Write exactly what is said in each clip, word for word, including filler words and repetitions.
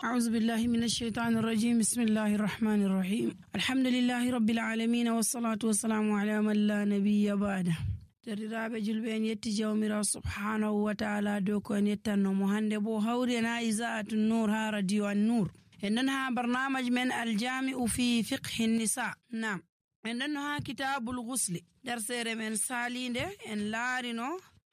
أعوذ بالله من الشيطان الرجيم. بسم الله الرحمن الرحيم. الحمد لله رب العالمين والصلاة والسلام على من لا نبي بعده. Derdiraaɓe julɓe en yetti jawmirawo subhanahu wa ta'ala dow ko en yettannomo hande bo hawri en ha Iza'atu Nur ha radio an Nur. En ɗon ha barnamaj men aljami'u fi fiqhi nisa. Nam en ɗon ha kitabul ghusli. Darsere men salinde en laarino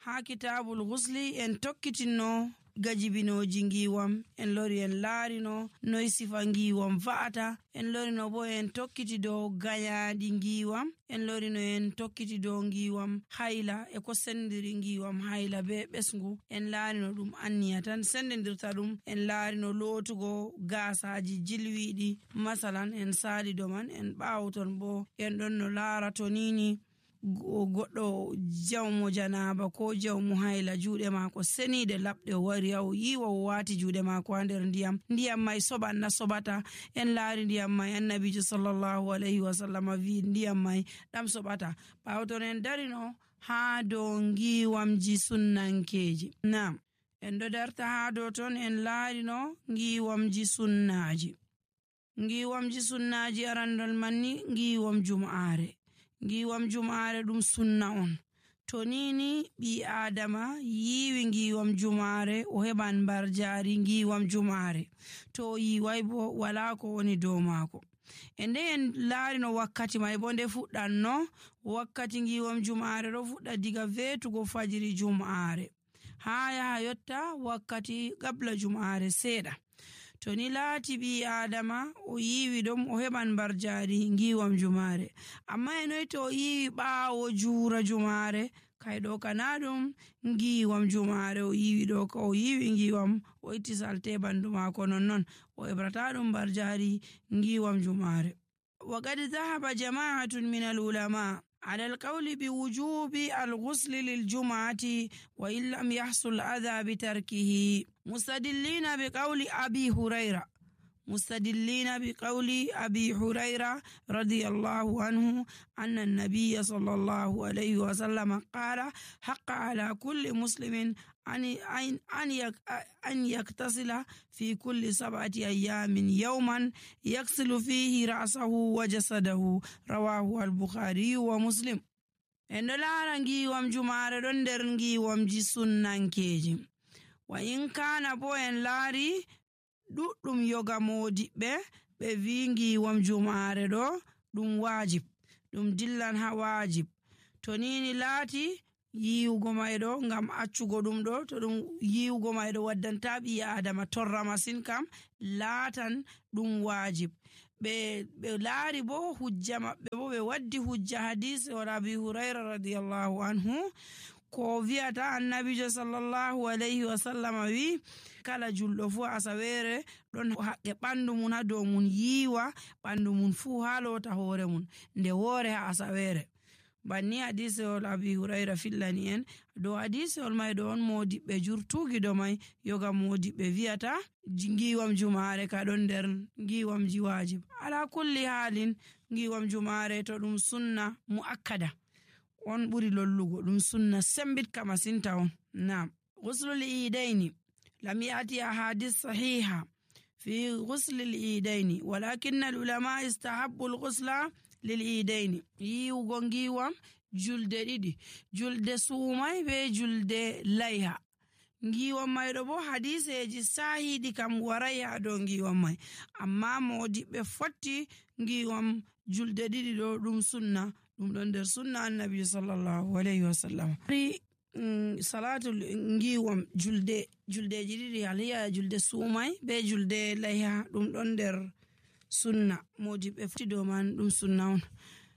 ha kitabul ghusli en tokkitinno gajibinoji ngiwam, en lori en laarino noy sifa ngiwam va'ata, en lorino bo en tokkiti dow gayaɗi ngiwam, en lorino en tokkiti dow ngiwam hayla e ko sendiri ngiwam hayla be ɓesgu, en laarino ɗum anniya tan sendidirta ɗum, en laarino lootugo gasaji jilwiɗi masalan en sali do man, en ɓawton bo en ɗon no laarato nini goɗɗo jawmo janaba ko jawmo hayla juuɗe maako seniide laɓɗe o wari o yiwa o waati juuɗe maako ha nder ndiyam ndiyam may soɓan na soɓata. En laari ndiyam may annabijo sallallahu alayhi wa sallam wi ndiyam may ɗam soɓata. ɓawton en darino ha dow ngiwamji sunnankeji. Nam en ɗo darta ha dow ton en laarino ngiwamji sunnaji. ngiwamji sunnaji arandol manni ngiwam jum'are. ngiwam jum'are ɗum sunna on. To nini ɓi adama yiwi ngiwam jum'are o heɓan barjari ngiwam jum'are, to yiwai bo wala ko woni dow maako. E nde en laarino wakkati may bo nde fuɗɗanno, wakkati ngiwam jum'are ɗo fuɗɗa diga vetugo fajiri jum'are ha yaha yotta wakkati qabla jum'are seeɗa. To ni laati ɓi adama o yiwi ɗum o heɓan barjari ngiwam jumare, amma e noy to o yiwi ɓaawo juura jumare kayɗo kana ɗum ngiwam jumare o yiwi ɗo ka o yiwi ngiwam o itti salte bandu mako nonnon o heɓrata ɗum barjari ngiwam jumare. Wa qad dhahaba jama'atun min al-ulama على القول بوجوب الغسل للجمعة وإن لم يحصل أذى بتركه، مستدلين بقول أبي هريرة مستدلين بقول أبي هريرة رضي الله عنه أن النبي صلى الله عليه وسلم قال: حق على كل مسلم أن أن يغتسل في كل سبعة أيام يوما يغسل فيه رأسه وجسده. رواه البخاري ومسلم. en ɗo laara ngiwam jumare ɗon nder ngiwamji sunnankeji. wa in kana bo en laari ɗuɗɗum yoga modiɓɓe ɓe wi ngiwam jumare ɗo ɗum wajib, ɗum dillan ha wajib. to nini laati yiwugo mayɗo ngam accugo ɗum ɗo, to ɗum yiwugo mayɗo waddanta ɓi adama torra masin kam laatan ɗum wajib. ɓe ɓe laari bo hujja maɓɓe bo ɓe waddi hujja hadisi wala Abi Hurayra radiyallahu anhu ko wi'ata annabijo sallallahu alayhi wa sallam wi kala julɗo fu asawere ɗon haqqe ɓandu mun ha dow mun yiwa ɓandu mun fu ha lota hoore mun nde woore ha asawere. banni hadisewol Abi Hurayra fillani en dow hadisewol may ɗo on modiɓɓe jurtugi do may yoga modiɓɓe wi'ata ngiwam jumare ka ɗon nder ngiwamji wajib. ala kulli halin ngiwam jumare to ɗum sunna muakkada on ɓuri lollugo, ɗum sunna sembitka masinta on. Nam ghuslul idaini lam yati ahadith sahiha fi ghuslil idaini walakin al ulama istahabbu al ghusla lil idaini. yiwugo ngiwam julde ɗiɗi, julde suumay be julde layha. ngiwam mayɗo bo hadiseji sahiɗi kam waray ha dow ngiwam may, amma modiɓɓe fotti ngiwam julde ɗiɗi ɗo ɗum sunna, ɗum ɗon nder sunna annabi sallallahu alayhi wa sallam. salatu ngiwam julde juldeji ɗiɗi aliya julde suumay be julde layha ɗum ɗon nder sunna, modiɓɓe fotti dow man ɗum sunna on.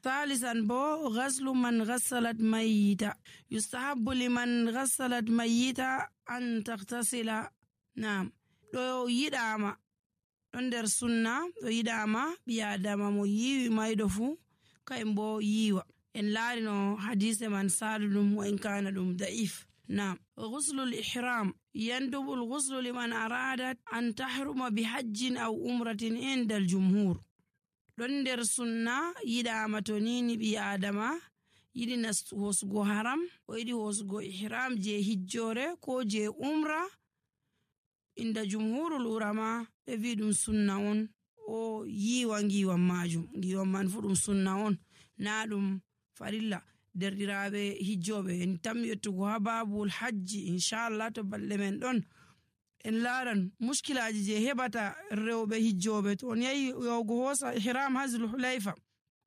ثالثا بو غسل من غسلت ميتا يستحب لمن غسلت ميتا أن تغتسل. نعم ɗo yiɗama ɗon nder sunna, ɗo yiɗama ɓi adama mo yiwi mayɗo fu kayum bo yiwa. en laarino hadise man saluɗum wa in kana ɗum da'if. نعم غسل الإحرام يندب الغسل لمن أرادت أن تحرم بحج أو أمرة عند الجمهور. ɗon nder sunna yiɗama to nini ɓi adama yiɗi hosugo haram o yiɗi hosugo ihram je hijjore ko je umra inda jumhurul ulama ɓe wi ɗum sunna on o yiwa ngiwam majum. Ngiwam man fu ɗum sunna on na ɗum farilla. Derɗiraɓe hijjoɓe en tammi yettugo ha babul hajji inchallah to balɗe men ɗon en laran muskilaji je heɓata rewɓe hijjoɓe to on yahi yahugo hosa ihram ha Zulhulayfa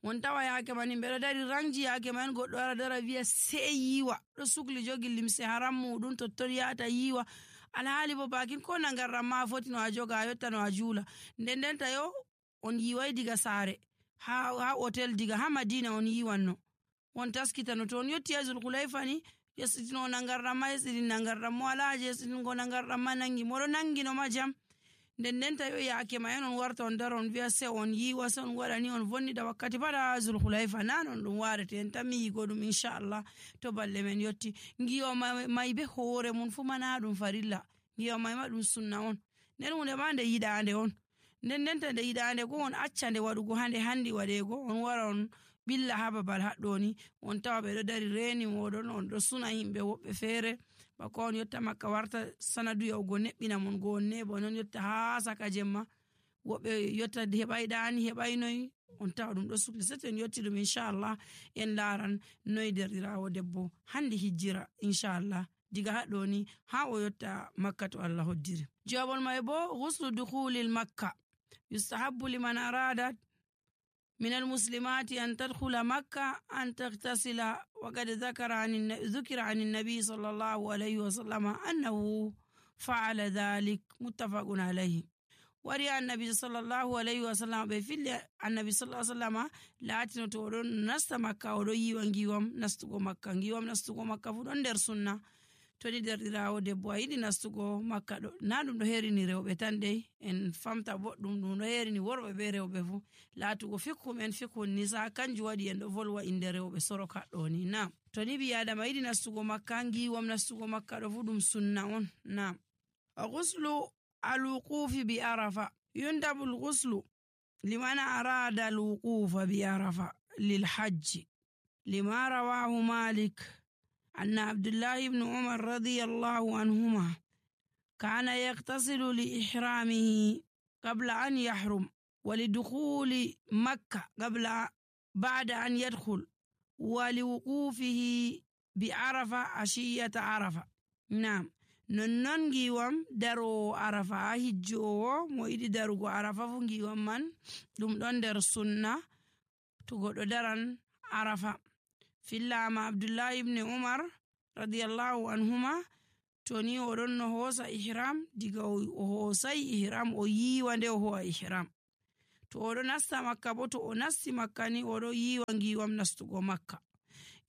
on tawa yake man himɓe ɗo dari rangji yake man goɗɗo ara dara wiya sei yiwa ɗo sukli jogi limse haram muɗum totton yata yiwa alhaali bo bakin ko nangarɗam ma foti no a joga a yotta no a juula. Nden ndenta yo on yiwai diga saare ha, ha hotel diga ha Madina on yiwanno on taskitano to on yotti ha Zulhulayfa ni yesitino nangarɗam ma yesitin nangarɗam mo ala je yesitingo nangarɗam ma nangi moɗo nangino ma jam. Nden ndenta yo yake ma en on warta on dara on wiya se on yiwa se on waɗa ni on vonnida wakkati pada Zulhulayfa nan on ɗum warete en tammi yigo ɗum inchallah to balɗe men yotti. Ngiwa mai be hoore mun fu mana ɗum farilla, ngiwa mai ma ɗum sunna on, nden hunde ma nde yiɗande on. Nden ndenta nde yiɗande go on acca nde waɗugo hande handi waɗego on wara on billa ha babal haɗɗo ni on tawa ɓe ɗo dari reni moɗon on ɗo suna himɓe woɓɓe feere bako on yotta makka warta sanadu yahugo neɓɓina mon go on nebo non yotta ha saka jemma woɓɓe yotta heɓai ɗani heɓai noyi on tawa ɗum ɗo sukli sete en yotti ɗum inchallah en laran noyi derɗirawo debbo handi hijjira inchallah diga haɗɗo ni ha o yotta makka to Allah hoddiri. Jawabol mai bo ghuslu dukhulil makka yustahabbu liman aradat من المسلمات أن تدخل مكة أن تغتسل وقد ذكر عن ذكر عن النبي صلى الله عليه وسلم أنه فعل ذلك متفق عليه. وري النبي صلى الله عليه وسلم بفعل النبي صلى الله عليه وسلم لا تنتورون نست مكة وري وانجيوم نستقو مكة انجيوم نستقو مكة فدون در سنة toni derɗirawo debbo a yiɗi nastugo makka ɗo na ɗum ɗo herini rewɓe tan dey en famta boɗɗum ɗum ɗo herini worɓe be rewɓe fu laatugo fikhum en fikhun nisa kanjum waɗi en ɗo volwa inde rewɓe soroka ɗo ni. Nam toni ɓi adama yiɗi nastugo makka ngiwom nastugo makka ɗo fu ɗum sunna on. Nam ghuslu alwuqufi bi arafa yundabu alghuslu liman arada alwuqufa bi arafa lilhajji lima rawahu malik أن عبد الله بن عمر رضي الله عنهما كان يغتسل لإحرامه قبل أن يحرم ولدخول مكة قبل بعد أن يدخل ولوقوفه بعرفة عشية عرفة. نعم نونون جيوام دارو عرفة هجو مويدي دارو عرفة فنجيوام من دم دون در السنة تقول دارن عرفة في اللام عبد الله بن عمر رضي الله عنهما توني ورن هوسا إحرام ديغا هوساي إحرام او ييوانده هو إحرام تو ورو نستا مكة بو تو نستي مكة ني ورو ييوانغي وام نستوغو مكة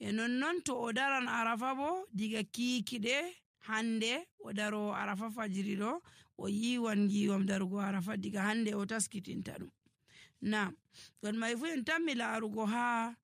enon non to o daran arafa bo diga kiikide hande o daro arafa fajiri do o yiwan giwam darugo arafa diga hande o taskitinta dum. Na gon mai fu en tammi laarugo ha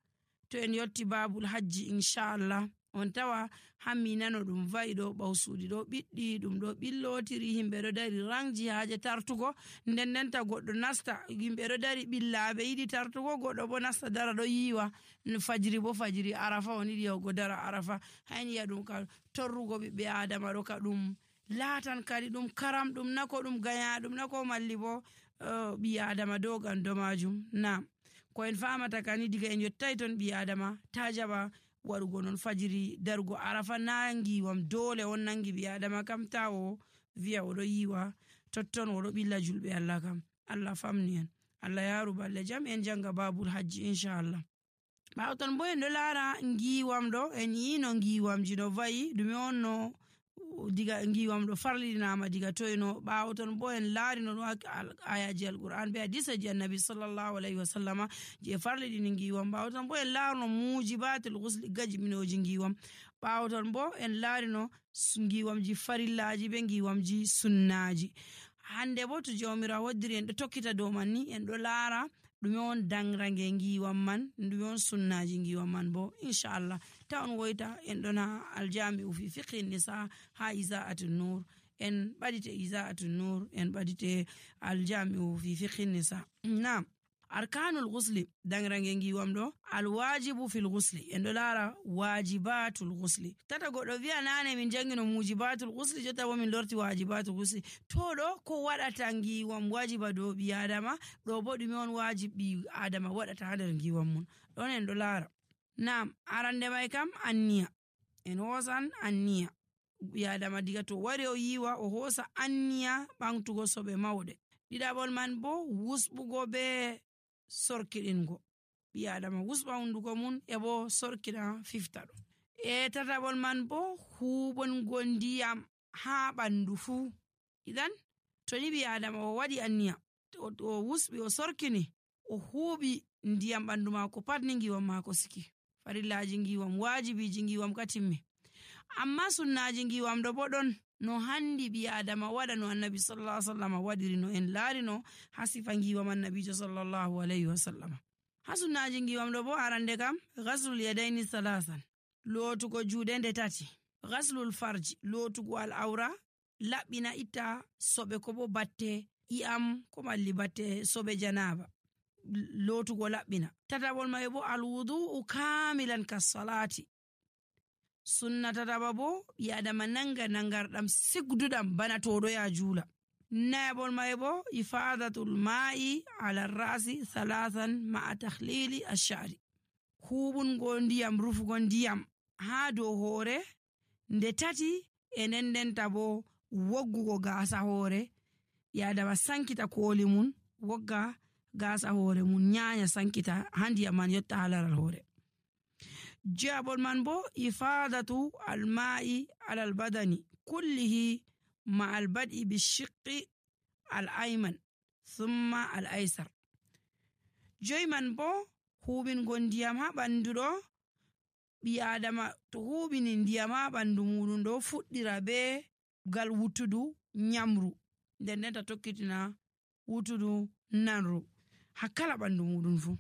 to en yotti babul hajji inchallah on tawa hammi nano dum vaido bawsuudi do biddi dum do billotiri himbe do dari rangji haaje tartugo nden ndenta goddo nasta himbe do dari billaabe yidi tartugo goddo bo nasta dara do yiwa fajiri bo fajiri arafa on yidi go dara arafa hayni ya dum ka torrugo be adama do ka dum latan kadi dum karam dum nako dum ganya dum nako malli bo uh, bi adama dogan do majum. Na ko en famata kani diga en yottay ton bi adama tajaba warugo non fajiri dargo arafa nangi wam dole on nangi bi adama kam tawo via odo yiwa totton odo billa julbe Allah kam Allah famni en Allah yaru balle jam en janga babul hajji inshallah. Ba ton boy ndo lara ngiwam do en yino ngiwam jino vayi dumi onno diga ngiwam do farlinama diga toyno baawo ton bo en laarino no ayaji alquran be hadisa ji annabi sallallahu alaihi wasallam je farlidi ni ngiwam baawo ton bo en laarino mujibatul ghusl gaji minoji ngiwam baawo ton bo en laarino ngiwam ji farillaji be ngiwam ji sunnaji. Hande bo to jawmira woddiri en do tokkita do man ni en do laara ɗume on dangrange ngiwam man ɗume on sunnaji ngiwam man bo inchallah ta on woyta en ɗona aljami fi fiqhi nisa ha iza'atu nur en ɓadite iza'atu nur en ɓadite aljami fi fiqhi nisa. Na arkanul ghusli dangrange ngiwam do alwajibu fil ghusli en do lara wajibatul ghusli tata godo wi'a nane min jangino mujibatul ghusli jotta bo min lorti wajibatul ghusli to do ko wadata ngiwam wajiba do bi adama do bo dumi on wajibi adama wadata ha nder ngiwam mun don en do lara. Naam, arande mai kam anniya en hosan anniya bi adama diga to wari o yiwa o hosa anniya bangtugo sobe mawde. Didabol man bo wusbugo be sorkidingo bi adama wusba hunduko mun e bo sorkina fifta do. E tatabol man bo hubon gondiyam ha bandu fu. Idan to ni bi adama o wadi anniya o wusbi o sorkini o hubi ndiyam bandu mako pat ni ngiwam mako siki. Farillaji ngiwam wajibiji ngiwam katimmi. Amma sunnaji ngiwam do bodon no handi bi adama wada no annabi sallallahu alaihi wasallam wadiri no en larino hasifa ngiwam annabi sallallahu alaihi wasallam. Hasunaji ngiwam do bo arande kam ghaslul yadaini salasan lotugo juude nde tati, ghaslul farji lotugo al awra labbina ita sobe ko bo batte iam ko malli batte sobe janaba lotugo labbina. Tatabol mai bo al wudu kamilan kas salati sunna tataba bo yadama nanga nangardam sigdudam bana todo ya jula. Nabol mai bo ifadatul ma'i ala rasi thalathan ma'a takhlili ash-sha'ri hubun gondiyam rufu gondiyam ha do hore nde tati enen den tabo woggugo gasa hore yadama sankita koli mun wogga gasa hore mun nyaanya sankita handi man yotta halal hore. Jabol man bo ifadatu al-ma'i ala al-badani kullihi مع البدء بالشق الأيمن ثم الأيسر. جيمان بو هوبين غنديام ها باندو بي آدم تو هوبين نديام ها باندو مودون دو فوديرا بي gal wutudu nyamru den neta tokkitina wutudu nanru hakala bandu mudun fu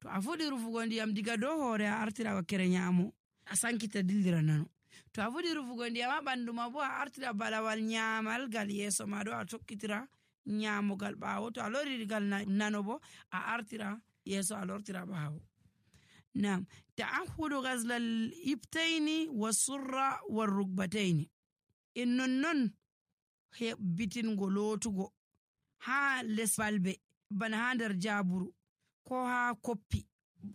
to afudi rufugo ndiyam diga do hore artira wa kere nyamo asankita dildira nano to afudi rufugo ndiyam bandu ma bo artira balawal nyamal gal yeso ma do a tokkitira nyamo gal bawo to alori gal nano bo a artira yeso alortira bawo. Naam, ta'ahudu ghazla al-ibtaini was-surra war-rukbataini innon non he bitin golotugo ha lesbalbe bana ha der jaburu ko ha koppi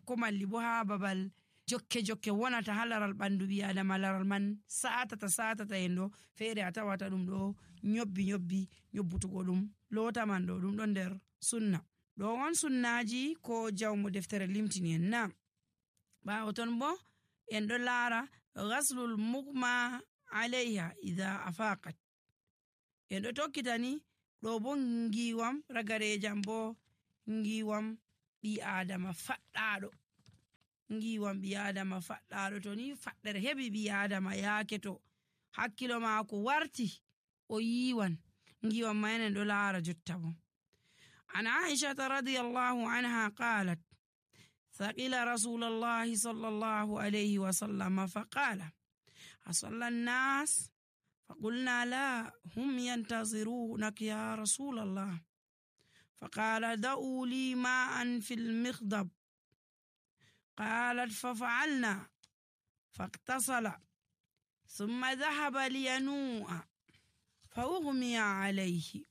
ko malli bo ha babal jokke jokke wonata halaral bandu bi adama laral man saata ta saata ta endo fere atawata dum do nyobbi nyobbi nyobbutugo dum lota man do dum don der sunna do won sunnaji ko jawmo deftere limtini en. Na ba oton bo en do lara ghaslul mughma alayha idha afaqat en do tokkitani do bo ngiwam ragarejam bo ngiwam bi adama faddado ngiwam bi adama faddado to ni faddere hebi bi adama yaake to hakkilo maako warti o yiwan ngiwam maynen do lara jotta bo. An Aisha radhiyallahu anha qalat ثقل رسول الله صلى الله عليه وسلم فقال أصلى الناس فقلنا لا هم ينتظرونك يا رسول الله فقال دعوا لي ماء في المخضب قالت ففعلنا فاغتسل ثم ذهب لينوء فأغمي عليه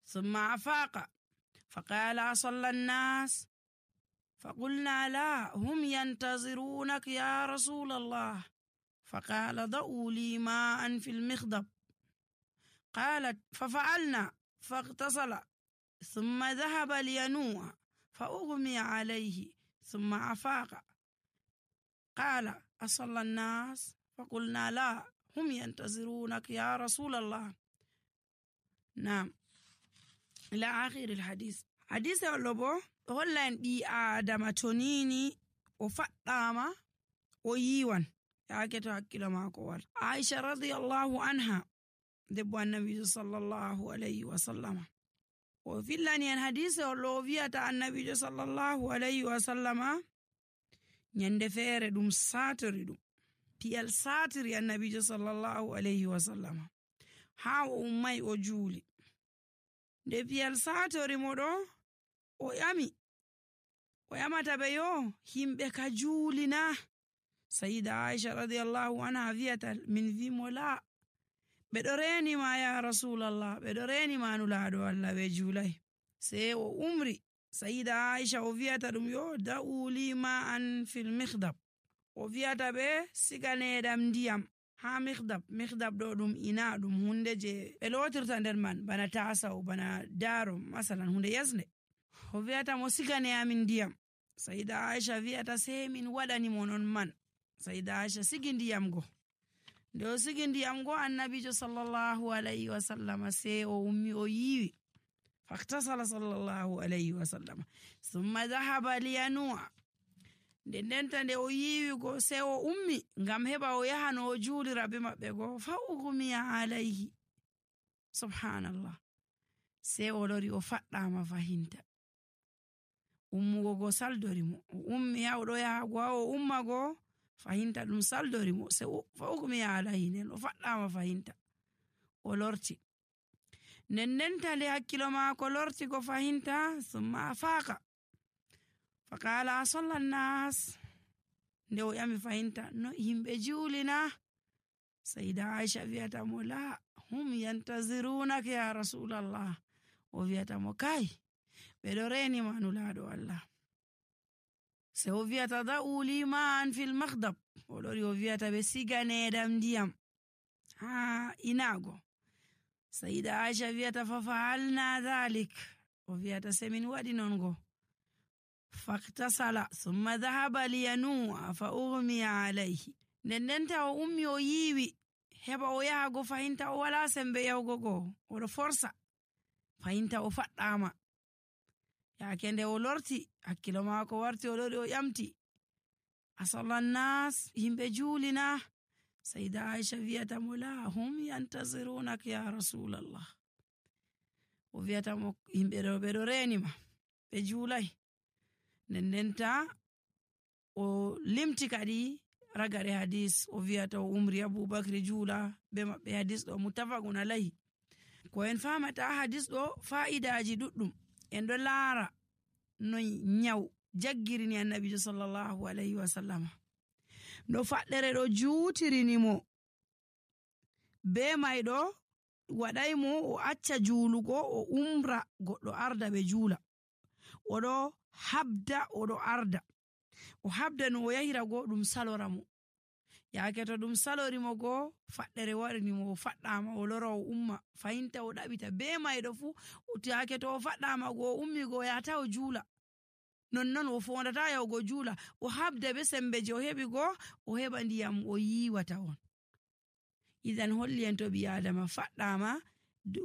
ثم أفاق فقال أصلى الناس فقلنا لا هم ينتظرونك يا رسول الله فقال ضعوا لي ماء في المخضب قالت ففعلنا فاغتسل ثم ذهب لينوء فأغمي عليه ثم أفاق قال أصلى الناس فقلنا لا هم ينتظرونك يا رسول الله. نعم إلى آخر الحديث. حديث اللبو hollan bi adama tonini o faddama o yiwan yaake to hakkilo mako war. Aisha radhiyallahu anha debbo annabi sallallahu alayhi wa sallama o fillani en hadise o lo wiata annabi sallallahu alayhi wa sallama nyande fere dum satori dum piyal satiri annabi sallallahu alayhi wa sallama ha o ummay o juuli de piyal satori modo o yami o yamata ɓe yo himɓe ka juulina. Sayida Aisha radiyallahu anha wiyata min wimo la, ɓeɗo renima ya rasulallah, ɓeɗo renima nulaɗo Allah ɓe juulai. Sei o umri. Sayida Aisha o wiyata ɗum yo da'u li ma an fil mikhdab, o wiyata ɓe siganeɗam ndiyam ha mikhdab. Mikhdab ɗo ɗum ina ɗum hunde je ɓe lotirta nder man bana tasaw, bana daro, masalan hunde yasne. O wiyata mo sigane amin ndiyam. Sayida Aisha wiyata sei min waɗani mo non man. Sayida Aisha sigi ndiyam go. Nde o sigi ndiyam go, annabijo sallallahu alayhi wa sallam sei o ummi o yiwi. Faktasala sallallahu alayhi wa sallam thumma dhahaba liyanua. Nde ndenta nde o yiwi go sei o ummi ngam heɓa o yaha no o juulira be maɓɓe go. Fa ughmiya alayhi, subhanallah. Sei o lori o faɗɗama fahinta. Ummugo go saldori mo. O ummi ha oɗo yaha go ha o umma go fahinta ɗum saldori mo. Sei fa ughmiya alayhi, nden o faɗɗama fahinta. O lorti. Nden ndenta nde hakkilo maako lorti ko fahinta, thumma afaqa faqala asalla nnas. Nde o yami fahinta, no himɓe juulina? Sayida Aisha wiyata mo la, hum yantazirunaka ya rasulallah. O wiyata mo kai, ɓeɗo renima nulaɗo Allah. Se o wiyata da'u li ma'an fil makhdab. O lori o wiyata ɓe siganeɗam ndiyam ha inago. Sayida Aisha wiyata fa fa'alna dhalik. O wiyata se min waɗi non go. Faktasala thumma dhahaba liyanua fa ughmiya alayhi. Nden ndenta o ummi o yiwi heɓa o yaha go fahinta o wala sembe yahugo go, oɗo forsa fahinta o faɗɗama. Yaake nde o lorti hakkilo maako warti, o lori o ƴamti, asalla nnas, himɓe juulina? Sayida Aisha wiyata mo la, hum yantazirunak ya rasulallah. O wiyata mo himɓe ɗo ɓeɗo renima, ɓe juulai. Nden ndenta o limti kadi ragare hadis. O wiyata o umri Abubakri juula be maɓɓe. Hadis ɗo muttafaqun alayhi. Ko en famata hadis ɗo fa'idaji ɗuɗɗum. En ɗo laara no nyaw jaggirini annabijo sallallahu alayhi wa sallam. No faɗɗere ɗo juutirini mo. Be may ɗo waɗay mo o acca juulugo o umra goɗɗo arda ɓe juula. Oɗo habda oɗo arda. O habda no o yahira go ɗum salora mo. Yaake to ɗum salori mo go faɗɗere warini mo, o faɗɗama o lora o umma fahinta o ɗaɓita. Be mayɗo fu yaake to o faɗɗama go o ummi go o yahata o juula. Nonnon o fondata yahugo juula. O habda be sembe je o heɓi go o heɓa ndiyam o yiwata on. Idan holli en to ɓi adama faɗɗama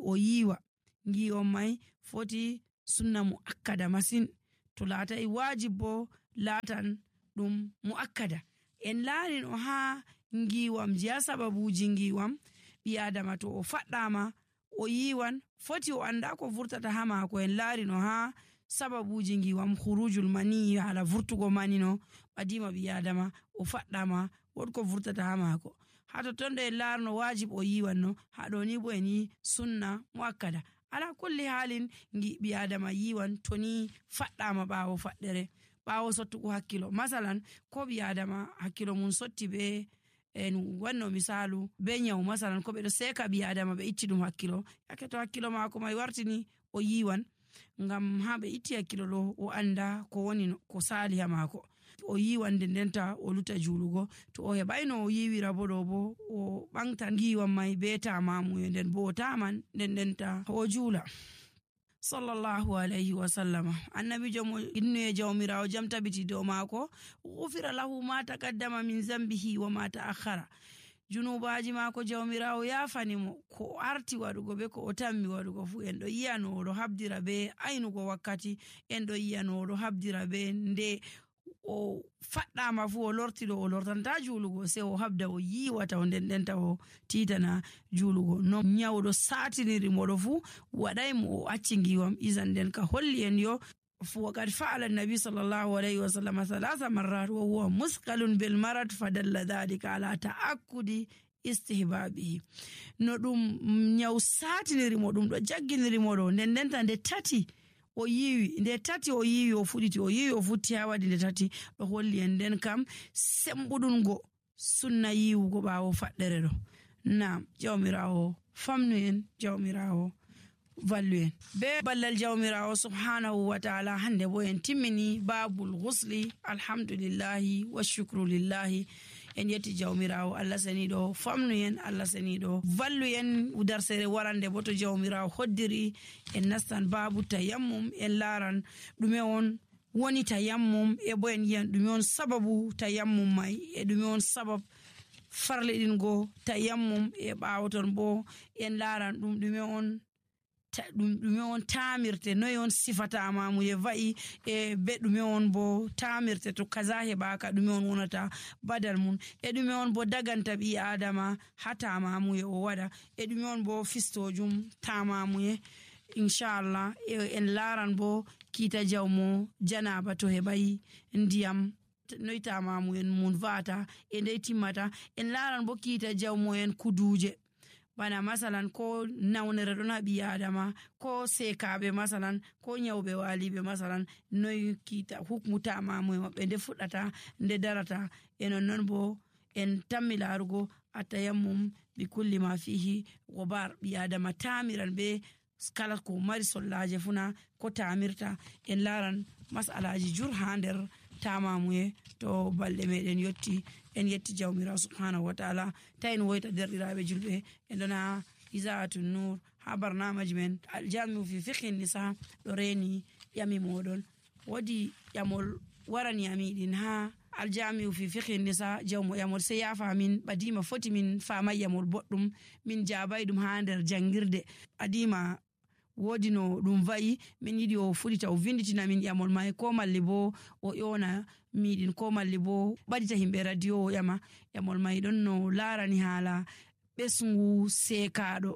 o yiwa, ngiwon mai foti sunna mu akkada masin. To latai wajib bo latan ɗum mu akkada. En laari no ha ngiwam je sababuji ngiwam ɓi adama to o faɗɗama o yiwan foti o anda ko vurtata ha mako. En laari no ha sababuji ngiwam khurujul mani, hala vurtugo mani no ɓadima ɓi adama o faɗɗama wodko vurtata ha mako. Ha to tonde en laarno wajib o yiwan no, ha ɗo ni bo en yi sunna muakkada. Ala kulli halin ngi ɓi adama yiwan to ni faɗɗama ɓawo faɗɗere, ɓawo sottugo hakkilo. Masalan ko ɓi adama hakkilo mun sotti be en wanno misalu be nyawu, masalan ko ɓe ɗo seka ɓi adama ɓe itti ɗum hakkilo. Yake to hakkilo mako mai wartini o yiwan ngam ha ɓe itti hakkilo ɗo o anda ko woni ko sali ha mako. O yiwan nden ndenta o luta juulugo. To o heɓayno o yiwira bo ɗo bo o ɓangta ngiwan mai be tamamu nden bo o taman nden ndenta o juula. Sallallahu alayhi wa sallama. Annabijo mo innuye jawmirawo jam tabiti dow maako, ghufira lahu ma taqaddama min zambihi wa ma ta'akhkhara. Junubaji maako jawmirawo yafani mo ko arti waɗugo be ko o tammi waɗugo fu. En ɗo yiyano oɗo habdira be aynugo wakkati, en ɗo yiyano oɗo habdira be nde o faɗɗama fu o lorti ɗo o lortanta juulugo, sei o habda o yiwata o nden ndenta o titana juulugo. No nyawɗo satiniri moɗo fu waɗay mo o acci ngiwam. Izan nden ka holli en yo وقد فعل النبي صلى الله عليه وسلم ثلاث مرات وهو مثقل بالمرض فدل ذلك على تأكد istihbabihi. No ɗum nyaw satiniri mo ɗum ɗo jagginiri mo ɗo nden ndenta nde tati o yiwi nde tati o yiwi o fuɗiti o yiwi o futti ha waɗi nde tati ɗo holli en nden kam sembuɗungo sunna yiwugo ɓawo faɗɗere ɗo. Naam, jawmirawo famnu en, jawmirawo vallu en be ballal jawmirawo subhanahu wa ta'ala. Hande bo en timmini babul ghusli, alhamdulillahi wa shukru lillahi. En yetti jawmirawo Allah seniɗo famnu en, Allah seniɗo vallu en. Udarsere warande bo to jawmirawo hoddiri en nastan babu tayammum, en laran ɗume on woni tayammum e bo en yiyan ɗume on sababu tayammum mai e ɗume on sabab farliɗingo tayammum e ɓawo ton bo en laran ɗum ɗume on ɗum ɗume on tamirte, noy on sifatama mu ye va'i e be ɗume on bo tamirte to kaza heɓaka ɗume on wonata badal mun e ɗume on bo daganta ɓi adama ha tamamuye o waɗa e ɗume on bo fistojum tamamuye inchallah. e en laran bo kita jawmo janaba to heɓayi ndiyam noy tamamuyen mun va'ata e ndey timmata. En laran bo kita jawmo en kuduje bana masalan ko nawnere ɗon ha ɓi adama ko sekaɓe masalan ko nyawɓe waliɓe masalan noy kita hukmu tamamuye maɓɓe nde fuɗɗata nde darata. e nonnon bo en tammi larugo atayammum bi kulli ma fihi gobar. ɓi adama tamiran be kala ko mari sollaje funa ko tamirta. en laran masalaji jur ha nder tamamuye to balɗe meɗen yotti. en yetti jawmirawo subhanahu wa ta'ala. ta en woyta derɗiraɓe julɓe en ɗona Iza'atun Nur ha barnamaji men aljami'u fi fiqhi nisa ɗo reni ƴami moɗon. wodi ƴamol warani amiɗin ha aljami'u fi fiqhi nisa jawmo ƴamol sai yafa min ɓadima foti min fama ƴamol boɗɗum min jabai ɗum ha nder jangirde. adima wodi no ɗum va'i min yiɗi o fuɗita o vinditina min ƴamol mai ko malli bo o ƴona miɗin ko malli bo ɓadita himɓe radio o ƴama ƴamol mai ɗon no larani haala ɓesngu sekaɗo.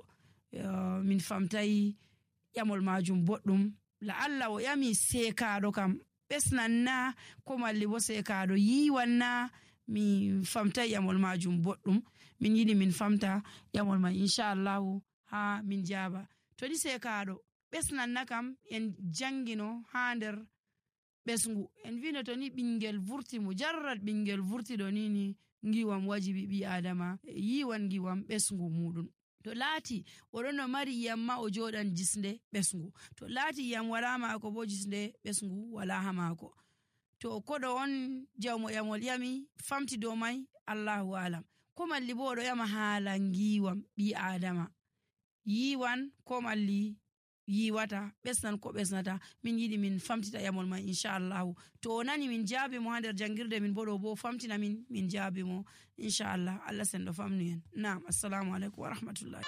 uh, min famtayi ƴamol majum boɗɗum. la Allah o ƴami sekaɗo kam ɓesnan na ko malli bo sekaɗo yiwan na, mi famtayi ƴamol majum boɗɗum. min yiɗi min famta ƴamol mai inchallahu ha min jaba. to ɗi sekaɗo ɓesnanna kam en jangino ha nder ɓesngu en vino to ni ɓingel vurti mu jarrat ɓingel vurti ɗo nini ngiwam wajibi ɓi adama yiwan ngiwam ɓesngu muɗum. to laati oɗon no mari iyam ma o joɗan jisnde ɓesngu, to laati iyam wala mako bo jisnde ɓesngu wala ha mako. to koɗo on jawmo ƴamol ƴami famti dow mai Allahu alam. ko malli bo oɗo ƴama haala ngiwam ɓi adama yiwan ko malli yiwata, ɓesnan ko ɓesnata. min yiɗi min famtita ƴamol mai inchallahu. to o nani min jaabi mo ha nder jangirde min bo ɗo bo famtina min min jaabi mo inchallah. Allah senɗo famnu en. Naam, assalamu alaikum wa rahmatullahi.